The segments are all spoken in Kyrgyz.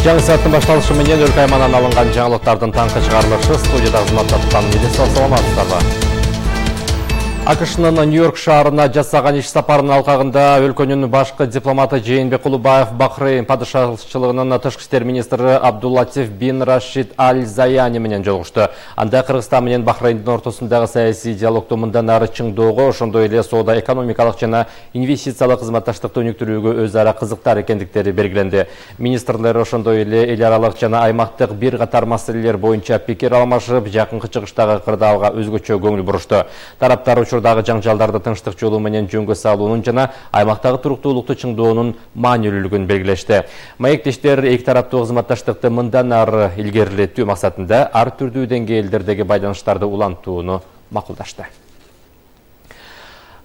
Жаңы сааттын башталышы менен өлкө аймагынан алынган жаңылыктардын таңкы чыгарылышы студияда кызмат аткан Елиза саламатсыздарбы. АКШнын Нью-Йорк шаарына жасаган иш сапарынын алкагында өлкөнүн башкы дипломаты Жээнбек Кулубаев Бахрейн падышачылыгынын тышкы иштер министри Абдуллатиф бин Рашид Аль-Заяни менен жолугушту. Анда Кыргызстан менен Бахрейндин ортосундагы саясий диалогду мындан ары чыңдоого, ошондой эле соода экономикалык жана инвестициялык кызматташтыкты өнүктүрүүгө өз ара кызыктар экендиктери белгиленди. Министрлер ошондой эле эл аралык жана аймактык бир катар маселелер боюнча пикир алмашып, жакынкы чыгыштагы кырдаалга өзгөчө көңүл бурушту. Тараптар учурдагы жаңжалдарды тынчтык жолу менен жөнгө салуунун жана аймактагы туруктуулукту чыңдоонун маанилүүлүгүн белгилешти. Маектештер эки тараптуу кызматташтыкты мындан ары илгерилетүү максатында ар түрдүү деңгээлдердеги байланыштарды улантууну макулдашты.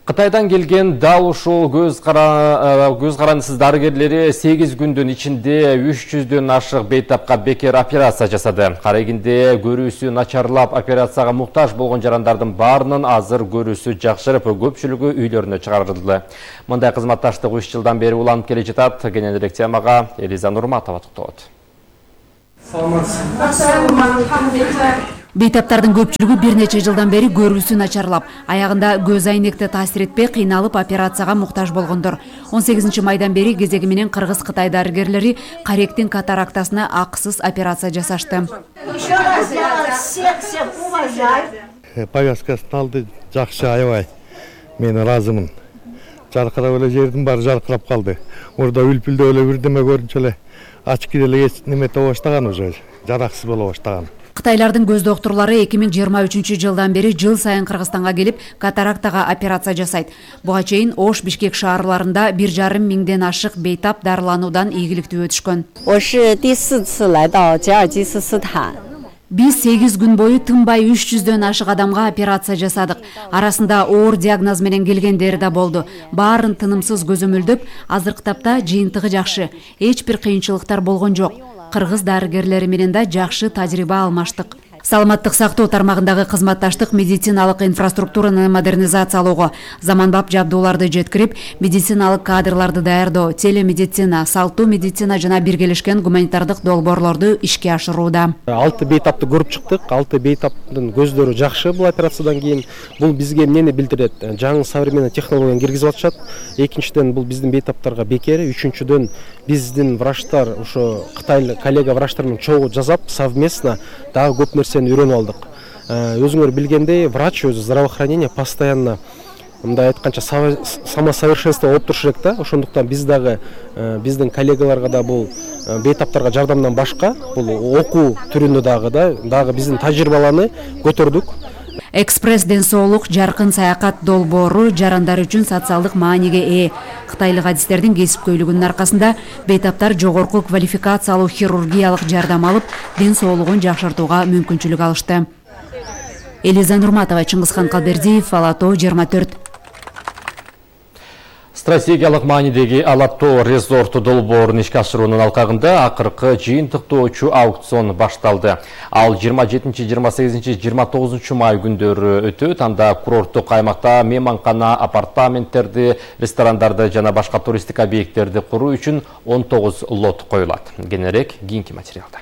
Кытайдан келген дал ушул көз карандысыз дарыгерлери 8 күндүн ичинде 300дөн ашык бейтапка бекер операция жасады. Карегинде көрүүсү начарлап операцияга муктаж болгон жарандардын баарынын азыр көрүүсү жакшырып, көпчүлүгү үйлөрүнө чыгарылды. Мындай кызматташтык 3 жылдан бери уланып келе жатат. Кененирээк темага Элиза Нурматова токтолот. Бейтаптардын көпчүлүгү бир нече жылдан бери көрүүсү начарлап, аягында көз айнекти таасир этпей кыйналып операцияга муктаж болгондор. 18 майдан бери кезеги менен Кыргыз-Кытай дарыгерлери каректин катарактасына акысыз операция жасашты. Повязкасын алды, жакшы, аябай. Мен ыраазымын. Жаркырап эле жердин баары жаркырап калды. Орда үлпүлдөп эле бирдеме көрүнчү эле ачкы деле немете баштаган уже, жараксыз боло баштаган. Кытайлардын көз доктурлары 2023 жылдан бери жыл сайын Кыргызстанга келип катарактага операция жасайт. Буга чейин Ош, Бишкек шаарларында 1,5 миңден ашык бейтап дарылануудан ийгиликтүү өтүшкөн. Биз 8 күн бою тынбай 300дөн ашык адамга операция жасадык. Арасында оор диагноз менен келгендери да болду. Баарын тынымсыз көзөмөлдөп, азыркы тапта жыйынтыгы жакшы. Эч бир кыйынчылыктар болгон жок. Кыргыз дарыгерлери менен да жакшы тажрыйба алмаштык. Саламаттык сактоо тармагындагы кызматташтык медициналык инфраструктураны модернизациялоого, заманбап жабдууларды жеткирип, медициналык кадрларды даярдоо, телемедицина, салттуу медицина жана биргелешкен гуманитардык долбоорлорду ишке ашырууда. 6 бейтапты көрүп чыктык. 6 бейтаптын көздөрү жакшы бул операциядан кийин. Бул бизге эмнени билдирет? Жаңы современный технологияны киргизип атышат. Экинчиден бул биздин бейтаптарга бекер, үчүнчүдөн биздин врачтар, ошо Кытай коллега врачтар менен чогуу жасап, совместно дагы көп нерсени үйрөнүп алдык. Өзүңөр билгендей, врач өзү здравоохранение постоянно мындай айтканча самосовершенство болуп туруш керек да. Ошондуктан биз дагы биздин коллегаларга да бул бейтаптарга жардамдан башка бул окуу түрүндө дагы биздин тажрыйбаларны көтөрдүк. Экспресс ден соолук жаркын саякат долбоору жарандар үчүн социалдык мааниге ээ. Кытайлык адистердин кесипкөйлүгүнүн аркасында бейтаптар жогорку квалификациялуу хирургиялык жардам алып, ден соолугун жакшыртууга мүмкүнчүлүк алышты. Элиза Нурматова, Чыңгызхан Калбердиев, Алатоо 24. Стратегиялык маанидеги Алатоо резорту долбоорун ишке ашыруунун алкагында акыркы жыйынтыктоочу аукцион башталды. Ал 27, 28, 29 май күндөрү өтөт. Анда курорттук аймакта мейманкана, апартаменттерди, ресторандарды жана башка туристик объекттерди куруу үчүн 19 лот коюлат. Кененирээк кийинки материалда.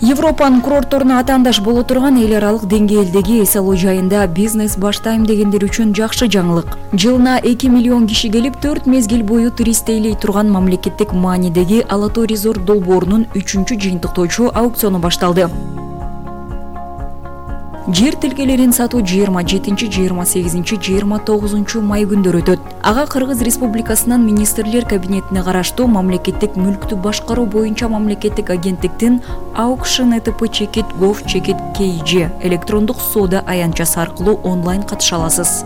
Европанын курортторуна атаандаш боло турган эл аралык деңгээлдеги эс алуу жайында бизнес баштайм дегендер үчүн жакшы жаңылык. Жылына 2 миллион киши келип, 4 мезгил бою турист эйлей турган мамлекеттик маанидеги Алатоо резорт долбоорунун 3-чү жыйынтыктоочу аукциону башталды. Жер тилкелерин сатуу 27, 28, 29 май күндөрү өтөт. Ага Кыргыз Республикасынын министрлер кабинетине караштуу мамлекеттик мүлктү башкаруу боюнча мамлекеттик агенттиктин auction@chekit.gov.kg электрондук соода аянтчасы аркылуу онлайн катыша аласыз.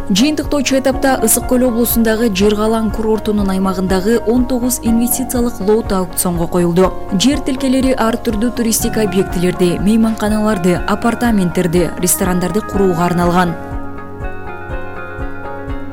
Жыйынтыктоочу этапта Ысык көл облусундагы Жыргалаң курортунун аймагындагы 19 инвестициялык лот аукционго коюлду. Жер тилкелери ар түрдүү туристик объектилерди, мейманканаларды, апартаменттерди, ресторандарды курууга арналган.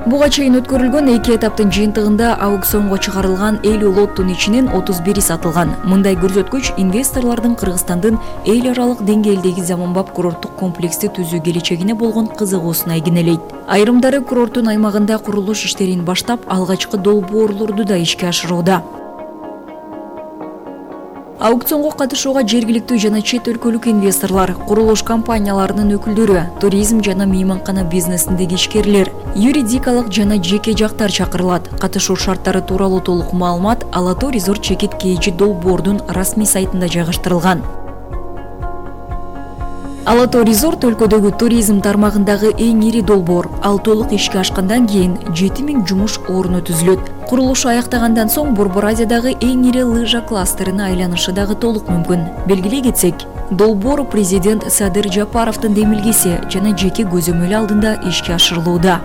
Буга чейин өткөрүлгөн 2 этаптын жыйынтыгында аукционго чыгарылган 50 лоттун ичинен 31 сатылган. Мындай көрсөткүч инвесторлордун Кыргызстандын эл аралык деңгээлдеги заманбап курорттук комплексти түзүү келечегине болгон кызыгуусун айгинелейт. Айрымдары курорттун аймагында курулуш иштерин баштап, алгачкы долбоорлорду да ишке ашырууда. Аукционго катышууга жергиликтүү жана чет өлкөлүк инвесторлор, курулуш компанияларынын өкүлдөрү, туризм жана мейманкана бизнесиндеги ишкерлер, юридикалык жана жеке жактар чакырылат. Катышуу шарттары тууралуу толук маалымат Ала-Тоо Резорт Чекит KG долбоордун расмий сайтында жайгаштырылган. Ала-Тоо Резорт өлкөдөгү туризм тармагындагы эң ири долбоор. Ал толук ишке ашкандан кийин 7000 жумуш орну түзүлөт. Курулушу аяктагандан соң Борбор Азиядагы эң ири лыжа кластерине айланышы дагы толук мүмкүн. Белгилей кетсек, долбоор президент Садыр Жапаровдун демилгеси жана жеке көзөмөл алдында ишке ашырылууда.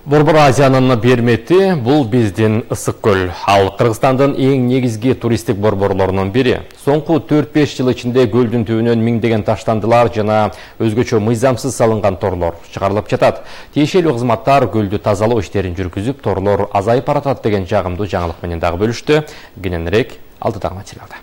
Борбор Азиянын бермети бул биздин ысык көл. Ал Кыргызстандын эң негизги туристтик борборлорунун бири. Соңку 4-5 жыл ичинде көлдүн түбүнөн миңдеген таштандылар жана өзгөчө мыйзамсыз салынган торлор чыгарылып жатат. Тиешелүү кызматтар көлдү тазалоо иштерин жүргүзүп, торлор азайып баратат деген жагымдуу жаңылык менен дагы бөлүштү. Кененирээк алдыдагы материалда.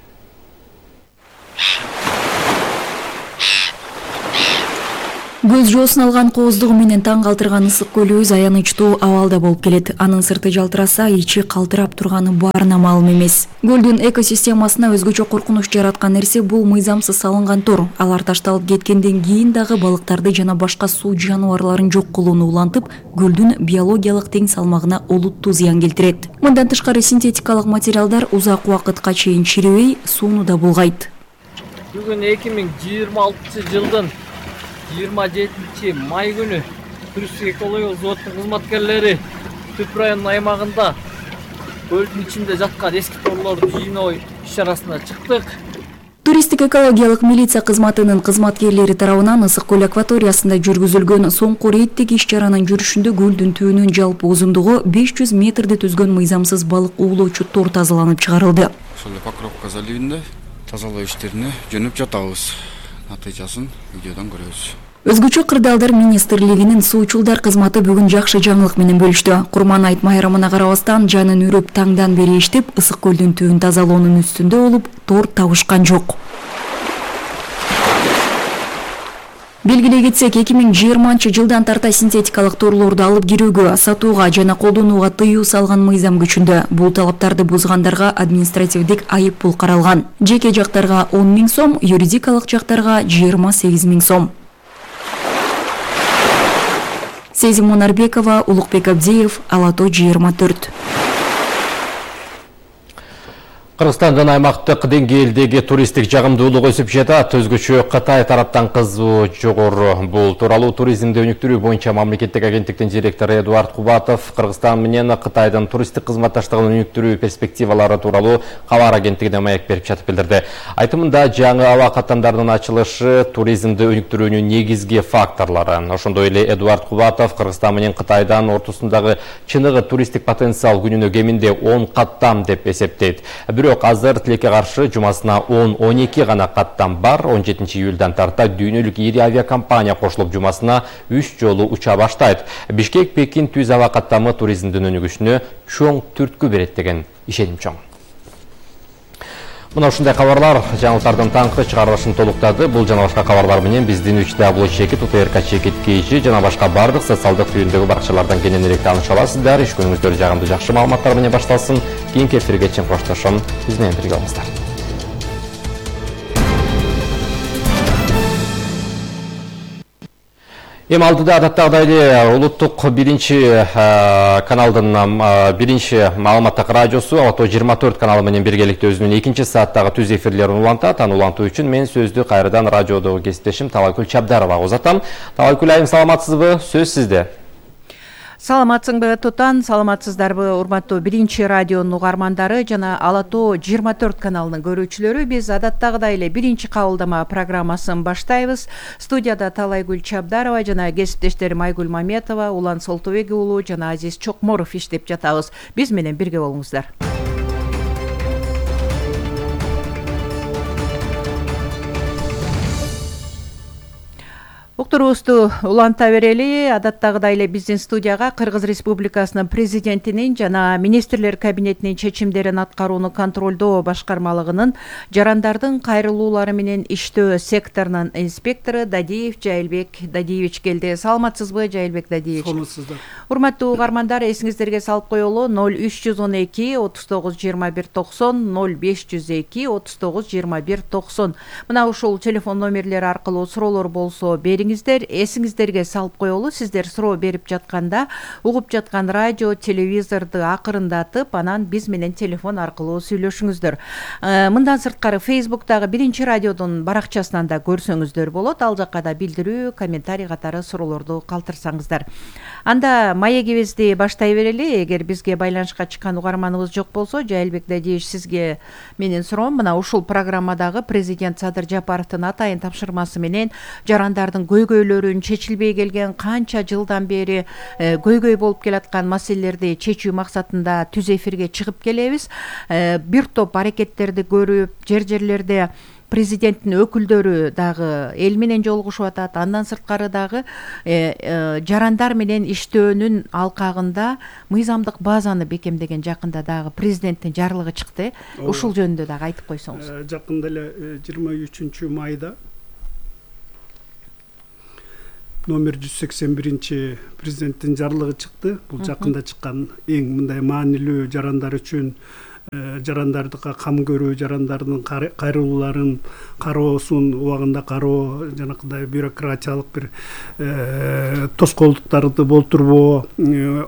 Көз жоосун алган кооздугу менен таң калтырган ысык көлүбүз аянычтуу абалда болуп келет. Анын сырты жалтыраса, ичи калтырап турганы баарына маалым эмес. Көлдүн экосистемасына өзгөчө коркунуч жараткан нерсе бул мыйзамсыз салынган тор. Алар ташталып кеткенден кийин дагы балыктарды жана башка суу жаныбарларын жок кылууну улантып, көлдүн биологиялык тең салмагына олуттуу зыян келтирет. Мындан тышкары синтетикалык материалдар узак убакытка чейин чирибей, сууну да булгайт. Бүгүн 2026-жылдын 27 май күнү туристтик экологиялык взводдун кызматкерлери Түп районунун аймагында көлдүн ичинде жаткан эски торлорду жыйноо иш-чарасына чыктык. Туристтик экологиялык милиция кызматынын кызматкерлери тарабынан ысык көл акваториясында жүргүзүлгөн соңку рейдтик иш-чаранын жүрүшүндө көлдүн түбүнүн жалпы узундугу 500 метрди түзгөн мыйзамсыз балык уулоочу тор тазаланып чыгарылды. Ошол Покровка заливинде тазалоо иштерине жөнөп жатабыз. Натыйжасын видеодон көрөбүз. Өзгөчө кырдаалдар министрлигинин суучулдар кызматы бүгүн жакшы жаңылык менен бөлүштү. Курман айт майрамына карабастан жанын үрүп таңдан бери иштеп, ысык көлдүн түбүн тазалоонун үстүндө болуп, тор табышкан жок. Белгилей кетсек, 2020-жылдан тарта синтетикалык торлорду алып кирүүгө, сатууга жана колдонууга тыюу салган мыйзам күчүндө. Бул талаптарды бузгандарга административдик айып пул каралган. Жеке жактарга 10 000 сом, юридикалык жактарга 28 000 сом. Сезим Монарбекова, Улукбек Абдиев, Ала-Тоо 24. Кыргызстандын аймактык деңгээлдеги туристтик жагымдуулугу өсүп жатат. Өзгөчө Кытай тараптан кызуу жогору. Бул тууралуу туризмди өнүктүрүү боюнча мамлекеттик агенттиктин директору Эдуард Кубатов Кыргызстан менен Кытайдын туристтик кызматташтыгын өнүктүрүү перспективалары тууралуу кабар агенттигине маек берип жатып билдирди. Айтымында, жаңы аба каттамдарынын ачылышы туризмди өнүктүрүүнүн негизги факторлору. Ошондой эле Эдуард Кубатов Кыргызстан менен Кытайдан ортосундагы чыныгы туристтик потенциал күнүнө кеминде 10 каттам деп эсептейт. Бирок азыр тилекке каршы жумасына 10-12 гана каттам бар. 17 июлдан тарта дүйнөлүк ири авиакомпания кошулуп жумасына 3 жолу уча баштайт. Бишкек-Пекин түз аба каттамы туризмдин өнүгүшүнө чоң түрткү берет деген ишеним чоң. Мына ушундай кабарлар жаңылыктардын таңкы чыгарылышын толуктады. Бул жана башка кабарлар менен биздин +WChekit, УТРК Чекит KG жана башка бардык социалдык түйүндөгү баракчалардан кененирээк тааныша аласыздар. Иш күнүңүздөр жагымдуу жакшы маалыматтар менен башталсын. Кийинки эфирге чейин коштошом. Биз менен бирге болуңуздар. Эми алдыда адаттагыдай эле улуттук биринчи каналдын биринчи маалыматтык радиосу Ала-Тоо 24 каналы менен биргеликте өзүнүн 2-сааттагы түз эфирлерин улантат. Аны улантуу үчүн мен сөздү кайрадан радиодогу кесиптешим Талайкүл Чабдаровага узатам. Талайкүл айым, саламатсызбы? Сөз сизде. Саламатсыңбы Тутан, саламатсыздарбы урматтуу биринчи радионун угармандары жана Ала-Тоо 24 каналынын көрүүчүлөрү. Биз адаттагыдай эле биринчи кабылдама программасын баштайбыз. Студияда Талайкүл Чабдарова жана кесиптештерим Айгүл Маметова, Улан Солтубек уулу жана Азиз Чокморов иштеп жатабыз. Биз менен бирге болуңуздар. Уктуруубузду уланта берели. Адаттагыдай эле биздин студияга Кыргыз Республикасынын президентинин жана министрлер кабинетинин чечимдерин аткарууну контролдоо башкармалыгынын жарандардын кайрылуулары менен иштөө секторунун инспектору Дадиев Жайылбек Дадиевич келди. Саламатсызбы, Жайылбек Дадиевич? Саламатсыздар. Урматтуу угармандар, эсиңиздерге салып коелу 0312 39 21 90 0502 39 21 90. Мына ушул телефон номерлери аркылуу суроолор болсо бериңиздер. Эсиңиздерге салып коелу, сиздер суроо берип жатканда угуп жаткан радио, телевизорду акырындатып, анан биз менен телефон аркылуу сүйлөшүңүздөр. Мындан сырткары Facebook'тагы Биринчи радиодун баракчасынан да көрсөңүздөр болот. Ал жакка да билдирүү, комментарий катары суроолорду калтырсаңыздар. Анда маегибизди баштай берели. Эгер бизге байланышка чыккан угарманыбыз жок болсо, Жайылбек Дадиевич, сизге менин суроом мына ушул программадагы президент Садыр Жапаровдун атайын тапшырмасы менен жарандардын көйгөйлөрүн, чечилбей келген канча жылдан бери көйгөй болуп келаткан маселелерди чечүү максатында түз эфирге чыгып келебиз. Бир топ аракеттерди көрүп, жерлерде президенттин өкүлдөрү дагы эл менен жолугушуп атат. Андан сырткары дагы жарандар менен иштөөнүн алкагында мыйзамдык базаны бекемдеген жакында дагы президенттин жарлыгы чыкты. Ушул жөнүндө дагы айтып койсоңуз. Жакында эле 23 майда номер 181 президенттин жарлыгы чыкты. Бул жакында чыккан эң мындай маанилүү жарандар үчүн жарандардыкка кам көрүү, жарандардын кайрылууларын кароосун убагында кароо, жанакындай бюрократиялык бир тоскоолдуктарды болтурбоо,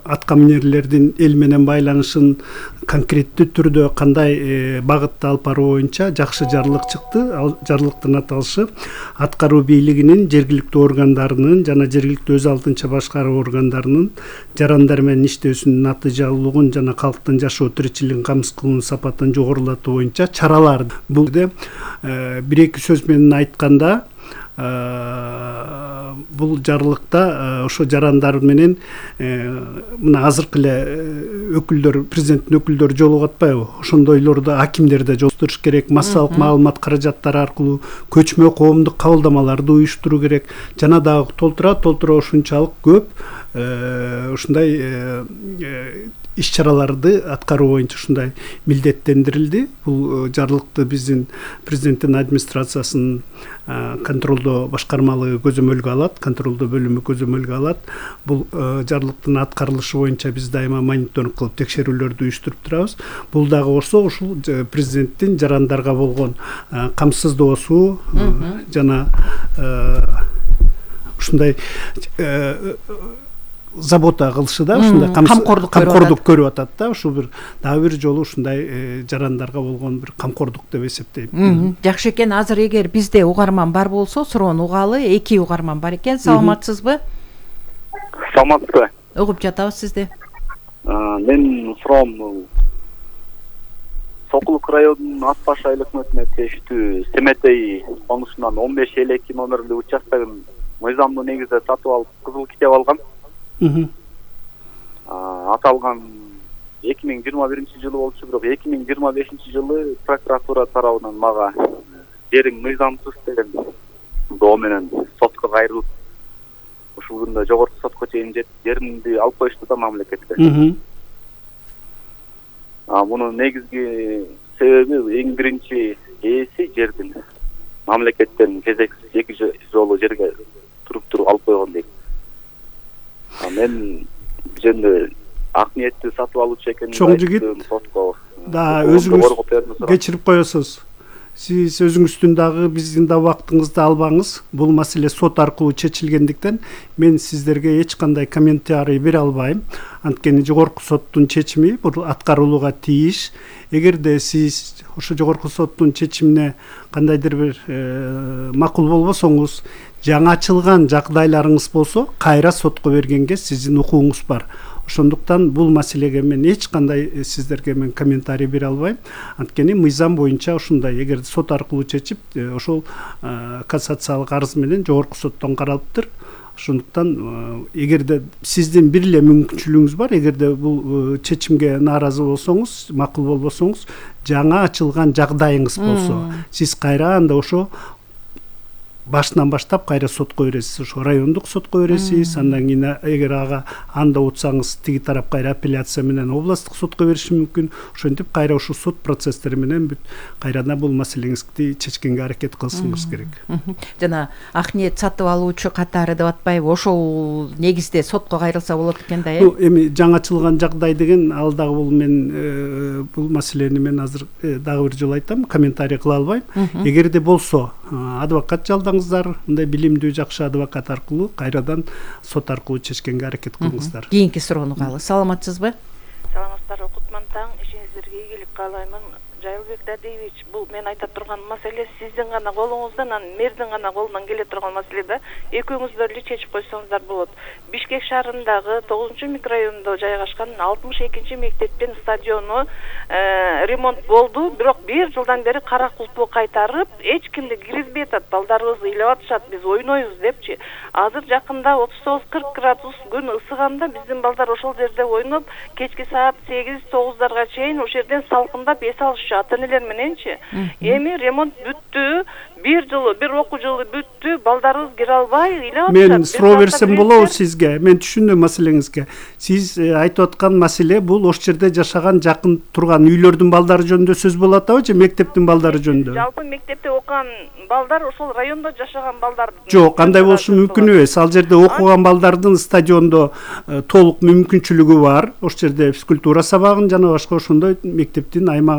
атка минерлердин эл менен байланышын конкреттүү түрдө кандай багытта алып баруу боюнча жакшы жарлык чыкты. Ал жарлыктын аталышы аткаруу бийлигинин, жергиликтүү органдарынын жана жергиликтүү өз алдынча башкаруу органдарынын жарандар менен иштөөсүнүн натыйжалуулугун жана калктын жашоо тиричилигин камсыз кылуунун сапатын жогорулатуу боюнча чаралар. Бул бир эки сөз менен айтканда бул жарлыкта ошо жарандар менен мына азыркы эле өкүлдөр, президенттин өкүлдөрү жолугуп атпайбы? Ошондойлорду акимдер да жолуктуруш керек, массалык маалымат каражаттары аркылуу көчмө коомдук кабылдамаларды уюштуруу керек. Жана дагы толтура ушунчалык көп ушундай иш-чараларды аткаруу боюнча ушундай милдеттендирилди. Бул жарлыкты биздин президенттин администрациясынын контролдоо башкармалыгы көзөмөлгө алат, контролдоо бөлүмү көзөмөлгө алат. Бул жарлыктын аткарылышы боюнча биз дайыма мониторинг кылып текшерүүлөрдү уюштуруп турабыз. Бул дагы болсо ушул президенттин жарандарга болгон камсыздоосу жана ушундай забота кылышы да, ушундай камкордук көрүп атат да. Ушул бир дагы бир жолу ушундай жарандарга болгон бир камкордук деп эсептейм. Жакшы экен. Азыр эгер бизде угарман бар болсо, суроону угалы. Эки угарман бар экен. Саламатсызбы? Саламатсызбы? Угуп жатабыз сизди. Мен суроом Сокулук районунун Ат Баш айыл өкмөтүнө тийиштүү Семетей конушунан 15-52 номерлүү участогун мыйзамдуу негизде сатып алып, кызыл китеп алгам. Аталган 2021 жылы болчу, бирок 2025 жылы прокуратура тарабынан мага жериң мыйзамсыз деген доо менен сотко кайрылып, ушул күндө жогорку сотко чейин жетип, жеримди алып коюшту да мамлекетке. Мунун негизги себеби эң биринчи ээси жердин мамлекеттен кезексиз 2 жолу жерге туруп алып койгон дейт. Мен жөнүндө ак ниеттүү сатып алуучу экенин чоң жигит да өзүңүз кечирип коесуз. Сиз өзүңүздүн дагы биздин да убактыңызды албаңыз. Бул маселе сот аркылуу чечилгендиктен мен сиздерге эч кандай комментарий бере албайм. Анткени жогорку соттун чечими бул аткарылууга тийиш. Эгерде сиз ошо жогорку соттун чечимине кандайдыр бир макул болбосоңуз, жаңы ачылган жагдайларыңыз болсо, кайра сотко бергенге сиздин укугуңуз бар. Ошондуктан бул маселеге мен эч кандай сиздерге мен комментарий бере албайм. Анткени мыйзам боюнча ушундай, эгер сот аркылуу чечип, ошол кассациялык арыз менен жогорку соттон каралыптыр. Ошондуктан эгерде сиздин бир эле мүмкүнчүлүгүңүз бар, эгерде бул чечимге нааразы болсоңуз, макул болбосоңуз, жаңа ачылган жагдайыңыз болсо, сиз кайра анда ошо башынан баштап кайра сотко бересиз, ошо райондук сотко бересиз, андан кийин эгер анда утсаңыз тиги тарап кайра апелляция менен областтык сотко бериши мүмкүн. Ошентип кайра ушул сот процесстери менен бүт кайрадан бул маселеңизди чечкенге аракет кылсаңыз керек. Жана Акниет сатып алуучу катары деп атпайбы, ошол негизде сотко кайрылса болот экен да, эми жаңачылган жагдай деген ал дагы бул мен бул маселени мен азыр дагы бир жолу айтам, комментарий кыла албайм. Эгерде болсо адвокат жалдаңыздар, мындай билимдүү жакшы адвокат аркылуу кайрадан сот аркылуу чечкенге аракет кылыңыздар. Кийинки суроону каалы. Саламатсызбы? Саламаттар, Кутман таң, ишиңиздерге ийгилик каалаймын. Жайылбек Дадеевич, бул мен айта турган маселе сиздин гана колуңуздан, мэрдин гана колунан келе турган маселе да. Экөөңүздөр эле чечип койсоңуздар болот. Бишкек шаарындагы 9-микрорайондо жайгашкан 62-мектептин стадиону ремонт болду, бирок 1 жылдан бери кара кулпу кайтарып, эч кимди киргизбей атат. Балдарыбыз ыйлап атышат, биз ойнойбуз депчи. Азыр жакында 39-40 градус күн ысыганда биздин балдар ошол жерде ойноп, кечки саат 8-9дарга чейин ошол жерден салкындап эс алышчу ата-энелер мененчи. Эми ремонт бүттү, бир окуу жылы бүттү, балдарыбыз кире албай ыйлап атышат. Мен суроо берсем болобу сизге? Мен түшүндүм маселеңизге. Сиз айтып аткан маселе бул ошол жерде жашаган жакын турган үйлөрдүн балдары жөнүндө сөз болуп атабы же мектептин балдары жөнүндө? Жалпы мектепте окуган балдар ошол райондо жашаган балдар. Жок, андай болушу мүмкүн эмес. Ал жерде окуган балдардын стадиондо толук мүмкүнчүлүгү бар. Ошол жерде физкультура сабагын жана башка ошондой мектептин аймагы